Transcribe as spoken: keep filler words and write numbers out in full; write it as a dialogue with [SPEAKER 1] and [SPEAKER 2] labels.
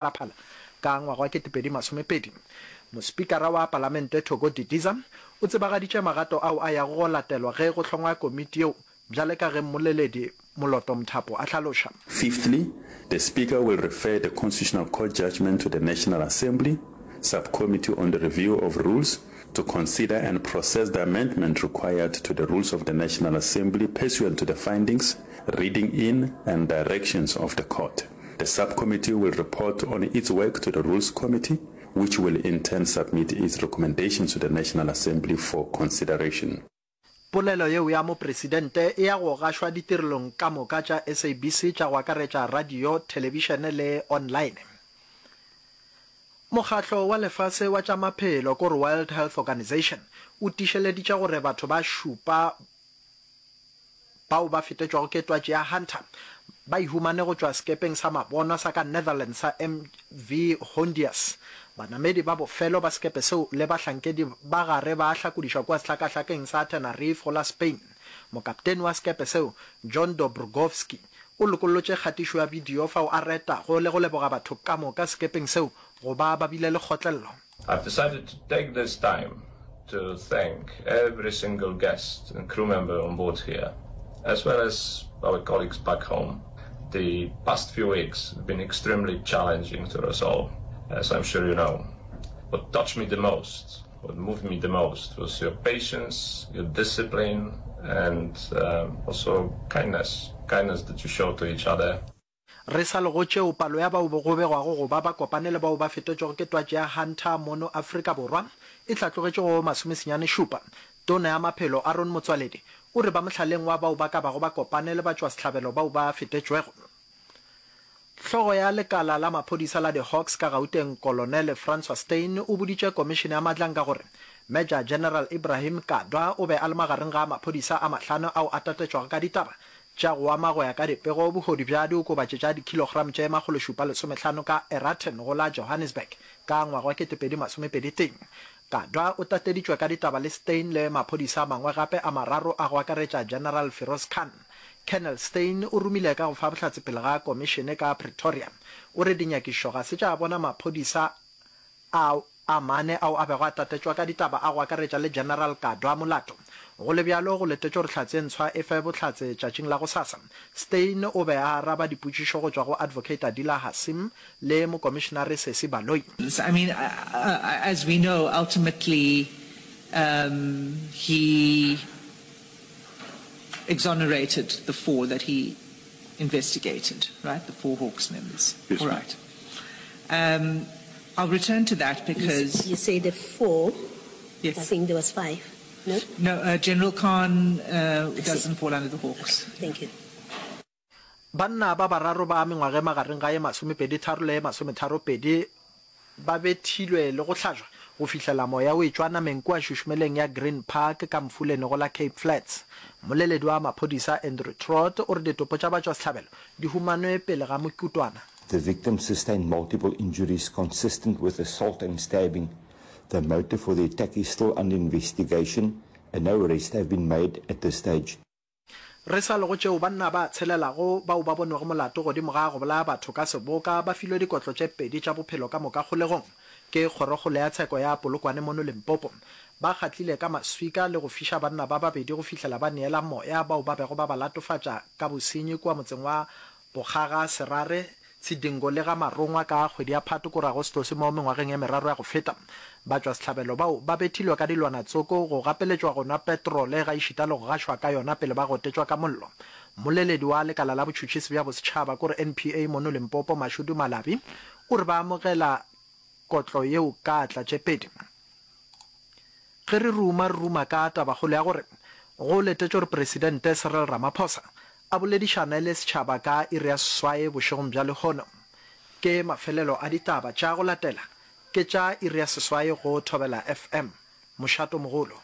[SPEAKER 1] Phalaphala ka ngwaga wa ketepedi masomepedi. Mospikara wa Palamente Thoko Didiza o tsebagaditše magato ao a yago go latelwa ge go hlongwa komiti yeo bjale ka ge mmoleledi Moloto Mthapo a hlaloša.
[SPEAKER 2] Fifthly, the Speaker will refer the Constitutional Court judgment to the National Assembly Subcommittee on the Review of Rules to consider and process the amendment required to the rules of the National Assembly pursuant to the findings, reading in and directions of the court. The subcommittee will report on its work to the Rules Committee, which will in turn submit its recommendations to the National Assembly for consideration.
[SPEAKER 1] Polelo yeo ya Mopresidente e ya go gašwa ditirelong ka moka tša S A B C tša go akaretša radio, thelebišene le online. Mokgatlo wa Lefase wa tša Maphelo, kore World Health Organization, o tiišeleditše gore batho ba šupa bao ba fetetšwago ke twatši ya Hunter ba e humane go tšwa sekepeng sa mabonwa sa ka Netherlands sa M V Hondius. Banamedi ba bofelo ba sekepe seo le bahlankedi ba gare ba hlakodišwa kua sehlakahlakeng sa Tenerife go la Spain. Mokapteni wa sekepe seo, John Dobrogowski, o lokollotše kgatišo ya bidio fao a retago le go leboga batho ka moka sekepeng seo go ba ba bile le kgotlello.
[SPEAKER 3] I've decided to take this time to thank every single guest and crew member on board here, as well as our colleagues back home. The past few weeks have been extremely challenging to us all, as I'm sure you know. What touched me the most, what moved me the most, was your patience, your discipline, and um, also kindness, kindness that you show to each other.
[SPEAKER 1] Re sa le go tšeo, palo ya bao go begwago go ba ba kopane le bao ba fetetšwego ke twatši ya Hunter mono Afrika Borwa e hlatlogetše go masomesenyane šupa. Tona ya Maphelo Aaron Motsoaledi o re ba mohlaleng wa bao ba ka bago ba kopane le batšwasehlabelo bao ba fetetšwego. Hlogo ya lekala la maphodisa la di-Hawks ka Gauteng Kolonele Francois Steyn o boditše Komišene ya Madlanka gore Major General Ibrahim Kadwa o be a le magareng ga maphodisa a mahlano ao a tatetšwago ka ditaba tša go ama go ya ka dipego bohodu bja diokobatši tša dikhilogramo tše makgološupa lesomehlano ka Eraton go la Johannesburg ka ngwaga wa ketepedi masomepedi tee. Kadwa o tateditšwe ka ditaba le Steyn le maphodisa a mangwe gape a mararo a go akaretša General Firoz Khan. Colonel Steyn o romile ka go fa bohlatse pele ga komišene ka Pretoria. O re dinyakišišo ga se tša bona maphodisa a a mane ao a bego a tatetšwa ka ditaba a go akaretša le General Kadwa molato. Go le bjalo, go letetšwe gore hlatse e ntshwa e fe bohlatse tšatšing la gosasa. Steyn o be a araba dipotšišo go tšwa go Advocate Adila Hassim le Mokomišenare Sesi Baloyi.
[SPEAKER 4] I mean, uh, uh, as we know, ultimately um, he exonerated the four that he investigated, right? The four Hawks members.
[SPEAKER 2] Yes,
[SPEAKER 4] All
[SPEAKER 2] ma'am.
[SPEAKER 4] right. Um, I'll return to that
[SPEAKER 5] You,
[SPEAKER 4] because
[SPEAKER 5] you say the four.
[SPEAKER 4] Yes.
[SPEAKER 5] I think there was five. No?
[SPEAKER 4] No, uh, General Khan uh,
[SPEAKER 5] I see.
[SPEAKER 4] doesn't fall under the Hawks.
[SPEAKER 5] Thank you.
[SPEAKER 1] Banna ba bararo ba mengwaga e magareng ga ye masomepedi tharo le ye masometharo pedi ba bethilwe le go hlajwa go fihlela moya o etšwa nameng kua šušumeleng ya Green Park ka Mfuleni go la Cape Flats. Mmoleledi wa maphodisa Andrew Trott o re ditopo tša batšwasehlabelo di humanwe pele ga mokutwana.
[SPEAKER 6] The victim sustained multiple injuries consistent with assault and stabbing. The motive for the attack is still under investigation and no arrests have been made at this stage.
[SPEAKER 1] Re sa le go tšeo, banna ba tshelelago bao ba bonwego molato godimo ga go bolaya batho ka seboka ba filwe dikotlo tše pedi tša bophelo ka moka kgolegong ke Kgorokgolo ya Tsheko ya Polokwane mono Limpopo. Ba kgatlile ka maswika le go fiša banna ba babedi go fihlela ba neela moya bao ba bego ba ba latofatša ka bosenyi kua motseng wa Bokgaga, Serare, Tshidingo le ga Marongwa ka kgwedi ya Phato kore Agostose mo mengwageng e meraro ya go feta. Batšwasehlabelo bao ba bethilwe ka dilwana tsoko, go gapeletšwa go nwa petrole gaešita le go gašwa ka yona pele ba gotetšwa ka mollo. Mmoleledi wa lekala la botšhotšhisi bja bosetšhaba kore N P A mono Limpopo Mashudu Malabi o re ba amogela kotlo yeo ka atla tše pedi. Ge re ruma re ruma ka tabakgolo ya gore go letetšwe gore Presidente Cyril Ramaphosa a boledišane le setšhaba ka iri ya seswai bošegong bja lehono. Ke mafelelo a ditaba tša go latela ke tša iri ya seswai go Thobela F M. Mošato mogolo.